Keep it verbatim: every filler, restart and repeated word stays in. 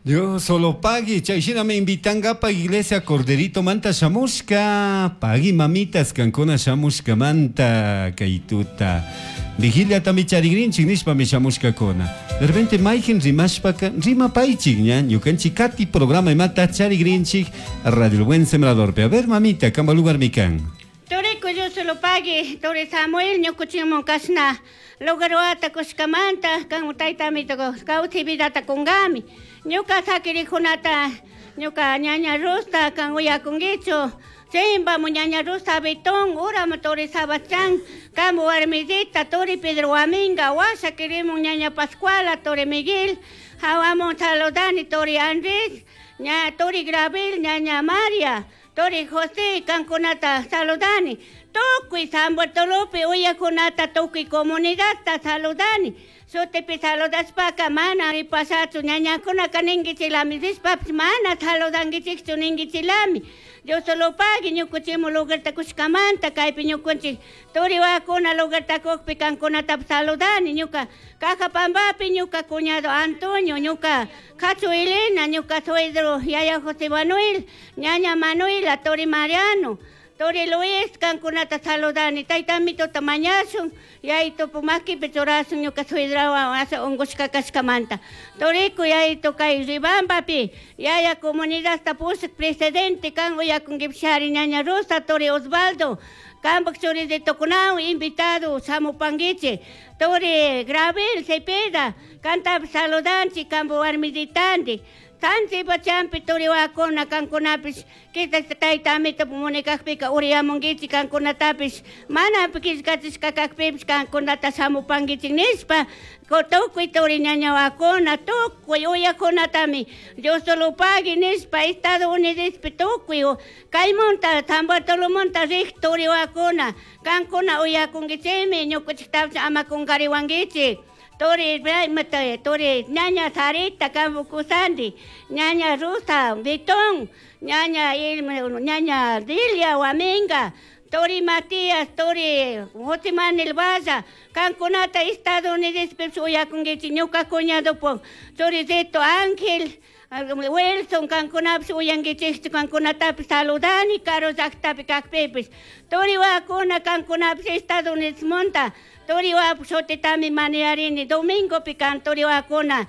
Dios solo pagui, chay shinami invitangapa iglesia Corderito manta shamushka, pagui mamitas kankuna shamushkamanta kay tuta. Vigiliatami charigrinchik nishpami shamushkakuna. De repente mayjin rimashpaka rimapaychik ña ñukanchik kati programa imata charigrinchik Radio El Buen Sembradorpi. A ver mamita, kamba lugar mi kan. Turiku Dios solo pagui, turi Samuel ñukuchimun kashna lugarwata kushkamanta kan taytami kawsay vidata kunkami. Ñuka sakirikunata ñuka ñaña Rosa kan uyakunkichu Chimbamu ñaña Rosa Betón, uramu turi Sebastián, kamu warmisita, turi Pedro Huaminga, washa kirimun ñaña Pascuala, turi Miguel, hawamun saludani turi Andrés, ña turi Gravel, ñaña María, turi José, kankunata saludani, tukuy San Bartolopi uyakunata tukuy comunidadta saludani, shutipi saludashpaka mana ripashachu ñañakunaka ninkichilami rishpapish mana saludankichikchu ninkichilami Dios solo pagui ñukuchimu lugarta kushkamanta kaypi ñukunchik turi wawakuna lugarta kukpi kankunatapish saludani ñuka Cajapambapi ñuka cuñado Antonio ñuka Cachu Elena ñuka suegro yaya José Manuel ñaña Manuela turi Mariano Turi Luis kankunata saludani taytamituta mañashun yayitupu makipi churashun ñuka suegrawan asha unkushka kashkamanta turiku yayitu kay Riobambapi yaya comunidadta pushak presidente kan uyakunkipishari ñaña Rosa turi Osvaldo kampak churisitukunawan invitado shamupankichik turi Gravel Cepeda kantapish saludanchik kampak warmisitantik San Sebastianpi turi wawakuna kankunapish quizás tayta amito munikakpika uriyamunkichik kankunatapish mana killkachishka kakpipish kankunata shamupankichik nishpa tukuy turi ñaña wawakuna tukuy uyakunatami Dios solo pagui nishpa Estados Unidospi tukuy kaymunta San Bartolomonta rik turi wawakuna kankuna uyakunkichikmi ñukanchiktapish ama kunkariwankichik turi turi ñaña Sarita kampu kusandi ñaña Rosa Betón ñaña ñaña Dilia Huaminga turi Matías turi José Manuel Valla kankunata Estados Unidospi uyakunkichik ñuka cuñadopuk churisito Ángel Wilson kankunapish uyankichikchu kankunatapish saludani karu llaktapi kakpipish turi wawakuna kankunapish Estados Unidosmanta turi wawapuk shutitami manearini domingopi kan turi wawakuna.